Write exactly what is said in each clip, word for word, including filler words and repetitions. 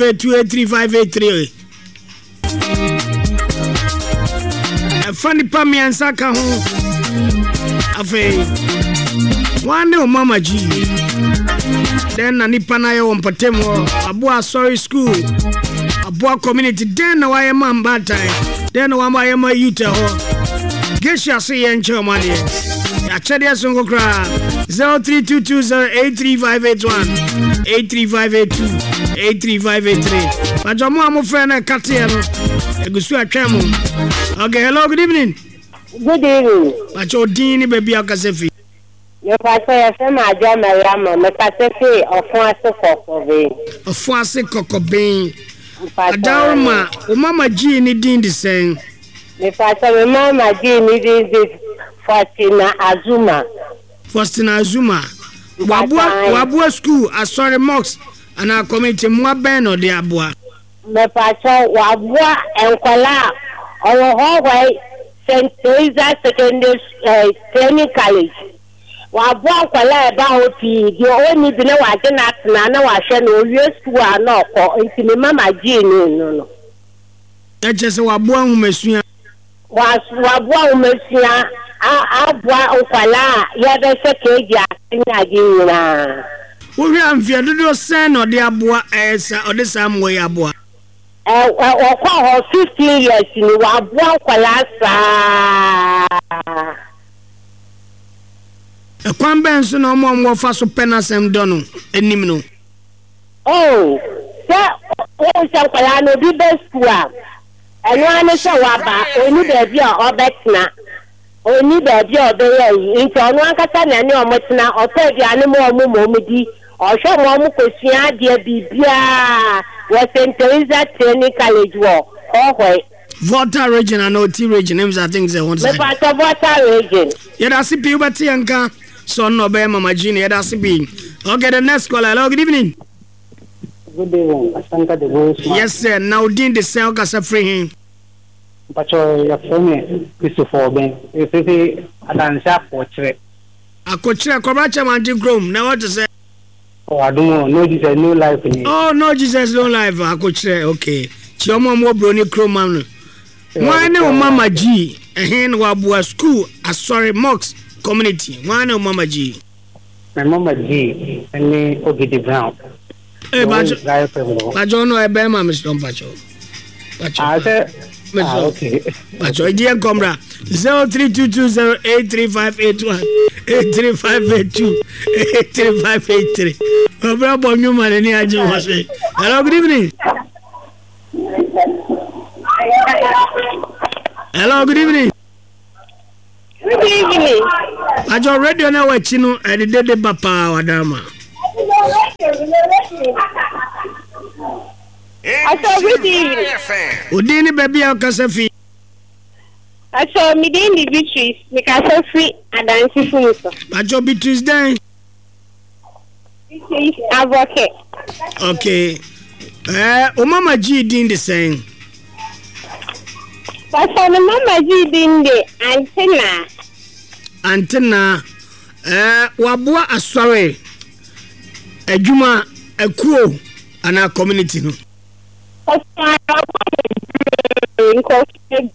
eight two eight three five eight three. Ɛfa nipa mmiɛnsa ka ho. Afei, wɔn ne ɔmama gyi. Dɛn na nipa no ayɛ wɔ mpɔtam hɔ? Aboa asɔre school, aboa community. Dɛn na wayɛ ma mbaatan? Dɛn na wayɛ ma youth hɔ? Geisha so yɛ nkyɛn ɔmo adeɛ. Yɛakyɛdeɛ so nko koraa. zero three two two zero eight three five eight one eight three five eight two eight three five eight three. Bàtà mo a mo fẹ́ náà kàteɛ no, egu so atwɛn mo. Okay, hello, good evening. Good evening. Bàtà odin ni baabi a ɔkasa fi. Mepatɔ yɛfrɛ me Adwoa Mariama, mekasa fi Ɔfo ase Kɔkɔben. Ɔfo ase Kɔkɔben. Adaworoma, wo mama gyii ne din de sɛn? Mepatɔ me mama gyii ne din de Faustina Azuma. Faustina Azuma. Waboa waboa school, asɔre, mosque anaa community mmoa bɛn na ɔde aboa? Mepatɔ waboa nkɔla a ɔwɔ Hɔhɔe Saint Teresa Secondary uh, Training College. Waboa nkɔla a ɛba hɔ pii deɛ ɔnni bi na wagye n'atena na wahwɛ no owie school a na ɔkɔ nti me mama gyii no no no. Ɛkyɛ sɛ waboa nhomasua. Waboa nhomasua aboa nkɔla a yɛbɛhyɛ keegi ase ne ade nyinaa. Wohwɛ a mfeɛ dodoɔ sɛn na ɔde aboa ɛyɛ sa ɔde saa mmoa yi aboa? Ɛ ɔkɔ hɔ fifteen years ni waboa nkɔla saa. Ɛkwan bɛn so na ɔmo a ɔmo wɔfa so pɛ n'asɛm dɔ no anim no? Oh, sɛ wɔn sɛ nkɔla no obi bɛ sukuu a ɛno ara ne sɛ waba oni baabi a ɔbɛtena oni baabi a ɔbɛyɛ yi nti ɔno ankasa na ne ɔmo tena ɔtɔ aduane ma ɔmo ma ɔmo di ɔhwɛ ma ɔmo kosua adeɛ biribiara wɔ Saint Teresa Training College wɔ Hɔhɔe. Volta Region and Oti Region, I think sɛ wɔn side. Mepatɔ Volta Region. Yɛda ase pii wobɛte yɛn nka sɛ ɔno na ɔbɛyɛ Mama Gene. Yɛda ase pii. Okay, the next caller. Hello, good evening. Good evening, Asanta the Voice. Yes, sir. Na odin de sɛn ɔkasa firi he? Mpakyɛ yɛfrɛ me Christopher Ɔbɛn. Ɛfiri Adanse Akɔkyerɛ. Akɔkyerɛ kɔbra kyɛmante kurom na wɔte sɛ. Oh, adom no Jesus no life ni. Oh, no Jesus no life Akɔkyerɛ okay. Kyerɛ ɔmo a ɔmo wɔ Broni kurom ma no. Wɔn ne wo mama G ɛhen na waboa school asɔre mosque community. Wɔn ne wo mama G. My mama G ne Ogidi Brown. Ee bajo bajo no ɛbɛn ma mesrɛ mpakyɛ. Bajo. Ah, sɛ ah, okay. Bajo ɛdi yɛn kɔmra zero three two two zero eight three five eight one eight three five eight two eight three five eight three. Ɔbɛrɛ bɔ nnwuma n'ani agye wɔ se. Hello, good evening. Hello, good evening. Good evening. Bajo radio na wɔ akyi no ɛde dede ba paa wadarama. Aso good evening. Odin ne baabi a ɔkasa fi. Aso mi din de Beatrice, mi kasa firi Adansi fum so. Bajo Beatrice dɛn? Beatrice Abɔkɛ. Okay. Eh, o mama G din de sɛn? Pasa ne mama G din de Antina. Antina. Eh, waboa asɔre adwuma akuo anaa community no. Pasa waboa bebree nkɔfo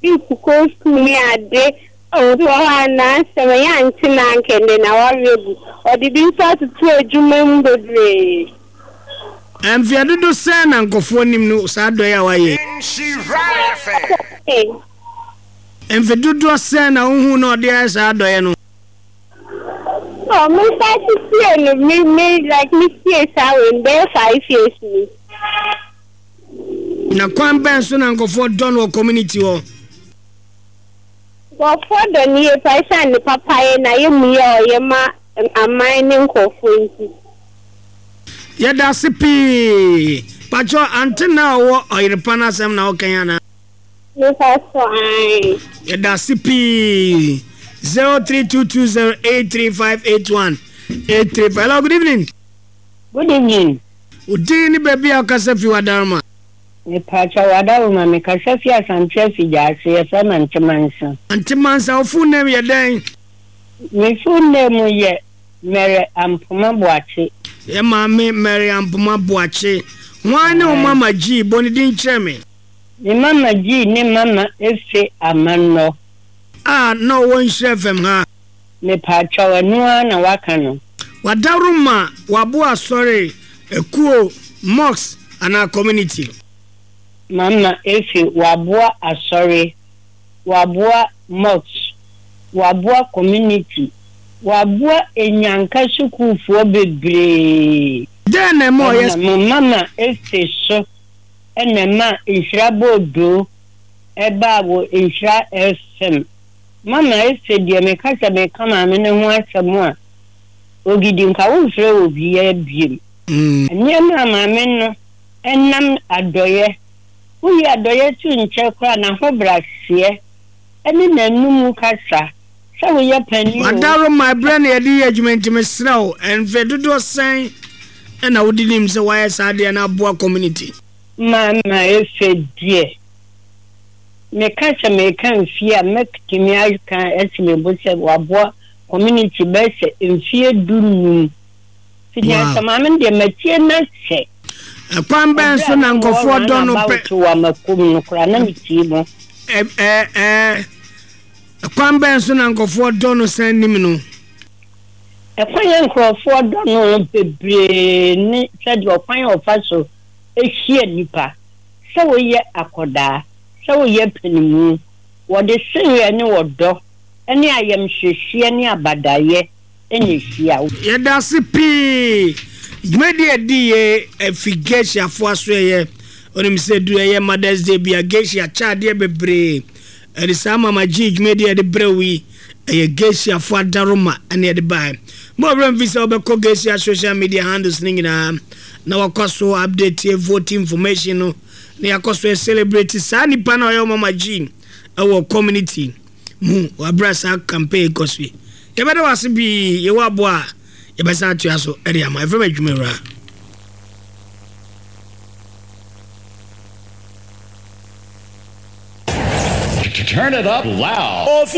bi kukɔ school ne ade. Obi wɔ hɔ a n'asɛm ɛyɛ Antina nkɛndɛ na wawe gu. Ɔde bi nso atoto adwuma mu bebree. Mfeɛ dodo sɛn na nkɔfoɔ nim no saa dɔ yi a wayɛ? Mfe dodoɔ sɛn na wohu na ɔde ayɛ saa dɔyɛ no? Oh, me start tie no me me like me tie saa wei bɛyɛ five years ni. Na kwan bɛn so na nkɔfoɔ dɔ no wɔ community hɔ? Nkɔfoɔ dɔ ne yie pa ɛsiane ne papayɛ na yɛ mu yɛ ɔyɛ ma aman ne nkɔfoɔ nti. Yɛda ase pii. Pakyɛ ante na ɔwɔ ɔyerepa no asɛm na ɔkan ana? Mefa so ae. Yɛda ase pii. zero three two two zero eight three five eight one eight three five. Hello, good evening. Good evening. Odin ne baabi a ɔkasa fi wadaroma. Mepakyɛ wadaroma mekasa fi Asante Afigya ase yɛfrɛ me Antemansa. Antemansa wo full name yɛ dɛn? Me full name yɛ Mary Ampoma Boakye. Yɛ maame Mary Ampoma Boakye. Hwan ne wo Mama G? Bɔ ne din kyerɛ me. Me Mama G ne Mama Efe Amannɔ. A na ɔwɔ Nhyira F M ha. Mepaakyɛw, ɛno ara na waka no. Wadaworo ma waboa asɔre, ekuo, mosque anaa community. Mama Efe waboa asɔre, waboa mosque, waboa community, waboa enyanka sukuufoɔ bebree. Dɛn na ɛma ɔyɛ Ɛna Mama Efe so ɛna ɛma Nhyira Boodoo ɛbaa wɔ Nhyira F M. Mama Efe deɛ meka sɛ meka maame ne ho asɛm a, Ogidi nka womfrɛ wɔ biara biem. Mm. Nneɛma a maame no ɛnam adɔyɛ, woyi adɔyɛ to nkyɛn koraa n'ahobrɛaseɛ ɛne n'anum kasa sɛ woyɛ panin o. Wadaro ma ɛberɛ na yɛde yɛ adwuma nti mesrɛ wo, mfe dodoɔ sɛn ɛna wode nim sɛ woayɛ saa adeɛ no aboa community? Mama Efe deɛ, meka sɛ meka mfie a mɛtumi aka asi me bo sɛ waboa community bɛyɛ sɛ mfie du num. Fiti Wow. asɛ maame no deɛ matie na sɛ. Ɛkwan bɛn so na nkɔfoɔ dɔ no pɛ? Wɔ amakom no koraa na metie mu. Ɛ ɛ ɛ ɛkwan bɛn so na nkɔfoɔ dɔ no sɛn nim no? Ɛkwan yɛ nkurɔfoɔ dɔ no bebree ne sɛdeɛ ɔkwan a ɔfa so ehyia nipa, sɛ woyɛ akɔdaa, sɛ woyɛ panimu, wɔde sereɛ ne wɔdɔ ne ayamhyehyeɛ ne abadayɛ ɛna ehyia wo. Yɛda ase pii. Dwumadi a ɛdi yɛ afi Geishafoɔ aso ɛyɛ onim sɛ du ɛyɛ Mother's Day bi a Geisha kyɛ adeɛ bebree. Ɛde saa Mama G dwumadi a yɛde brɛ wo yi ɛyɛ Geishafoɔ adaroma ɛne yɛde baeɛ. Mo ɔwerɛ mfi sɛ wobɛkɔ Geisha social media handles no nyinaa na wakɔ so update yɛ vote information no na yɛakɔ so celebrate saa nipa na ɔyɛ Mama G ɛwɔ community mu wabra saa campaign kɔ so yi. Yɛbɛda wo ase pii, yɛwɔ aboa a yɛbɛsan atoa so ɛde ama. Ɛfrɛ me adwuma wura. Turn it up loud. Ofie